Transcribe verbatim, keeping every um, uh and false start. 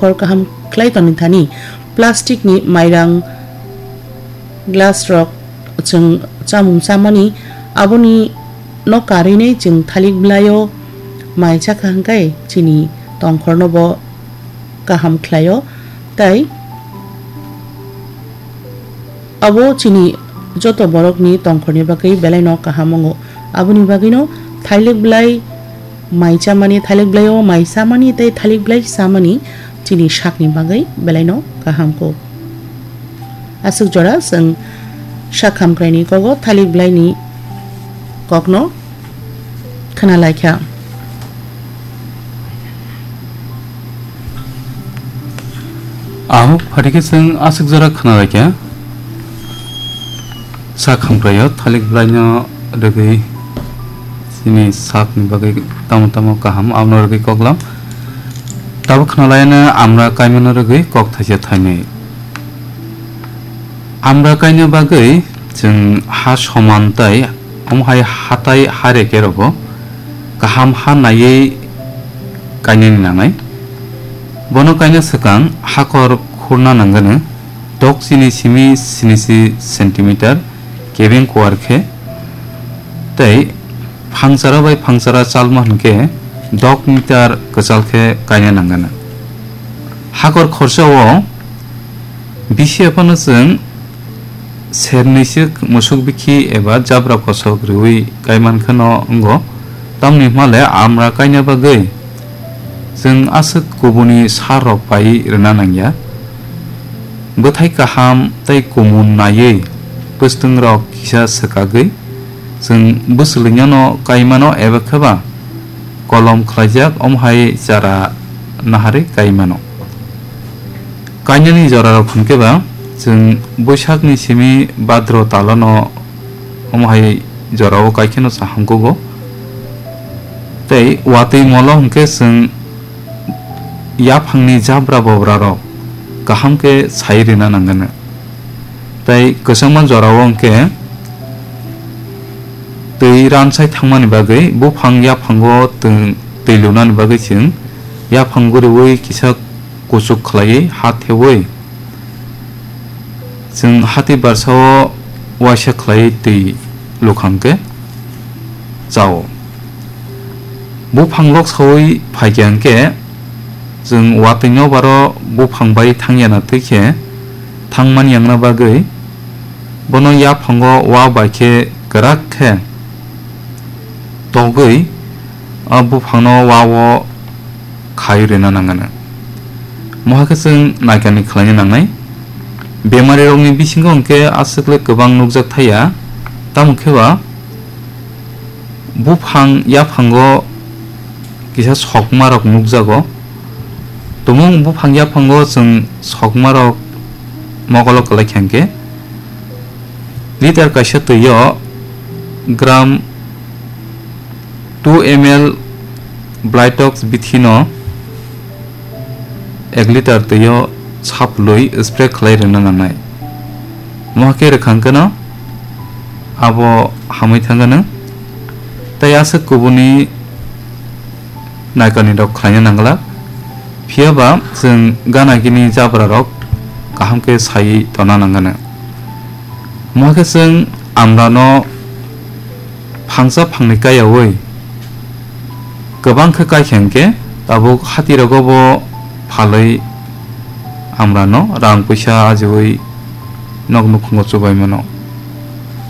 kor kaham khlai toni thani. Plastic ni mairang, glass rok chwng chamung chamani, aboni no karwi chwng thalik bwlaio mai chakha hwnkhe chini tongkhorno bo kaham khlaio, tei abo chini joto borokni tongkhorni bagwi belaino kaham wngo. Aboni bagwino thalik bwlai mai chamani, thalik bwlaio mai chamani tei thalik bwlai chamani chini sakni bagwi belaino kaham kho. Aswk jora chwng sak hamkraini kogo thalik bwlaini kokno khna laikha. Ahok phatikhe chwng aswk jora khna laikha. Sak hamkraio thalik bwlaino rwgwi chini sakni bagwi tamo tamo kaham abono rwgwi koklam. Tabuk khna laino amra kaimano rwgwi kok thaisa thainwi. Amra kaina bagwi chwng ha soman tei omo hai hatai ha reke rogo kaham ha naiwi kainani nangnai. Bono kaina swkang hakor khurna nangani dok chini simi sinichi centimeter kebeng kuar khe tei phangchara bai phangchara chalma hwnkhe dok meter kwchal khe kaina nangani. Hakor khorsa o bisi aphano chwng serniswk musuk bikhi eba jabra kosok rwui kaiman kheno wngo. Tamni hwnle amra kaina bagwi chwng aswk kubuni sar rok pai rwna nangya. Bwthai kaham tei kumun naiwi bwswtwng rok kisa swkagwi chwng bwswlwingyano kaimano eba kheba kolom khlaijak omo hai chara naharwi kaimano. Kainani jorarok hwnkhe ba chwng Boisakni simi Bhadro talano omo hai jorao kaikheno chaham kugo. Tei watwi molo hwnkhe chwng yaphangni jabra bobrarok kaham khe sai rwna nangani. Tei kwchangma jorao hwnkhe twi ransai thangmani bagwi buphang yaphango tw-, twi lunani bagwi chwng yaphang guriui kisa kuchuk khlaiwi ha theui chwng hati barsao waisa khlaiwi twi lukhang khe chao. Buphang lok saui phaikha hwnkhe chwng watwi nobaro buphang bai thangyana twi khe thangmani yangna bagwi bono yaphango wa bai khe kwrak khe togwi a buphangno wa-o khai rwna nangani. Mohakhe chwng naikani khlaina nangnai. Bemarirokni bisingo hwnkhe aswkle kwbang nukjak thaya, tamo khe ba buphang yaphango kisa sokmarok nukjago. Tumung buphang yaphango chwng sokmarok mokolo kwlai kha hwnkhe liter kaisa twio gram two M L Blitox bithino ek liter twio saplwi spray khlai rwna nangnai. Mohakhe rwkhang kheno abo hamwi thangano tei aswk kubuni naikani rok khlaina nangla. Phiya ba chwng gana gini jabra rok kaham khe sai tona nangano. Mohakhe chwng amrano phangsa phangni kaiyaui kwbang khe kaikha hwnkhe tabuk hatirogo bo phalwi amrano rang puisa ajiui nok nukhungo chubai mano.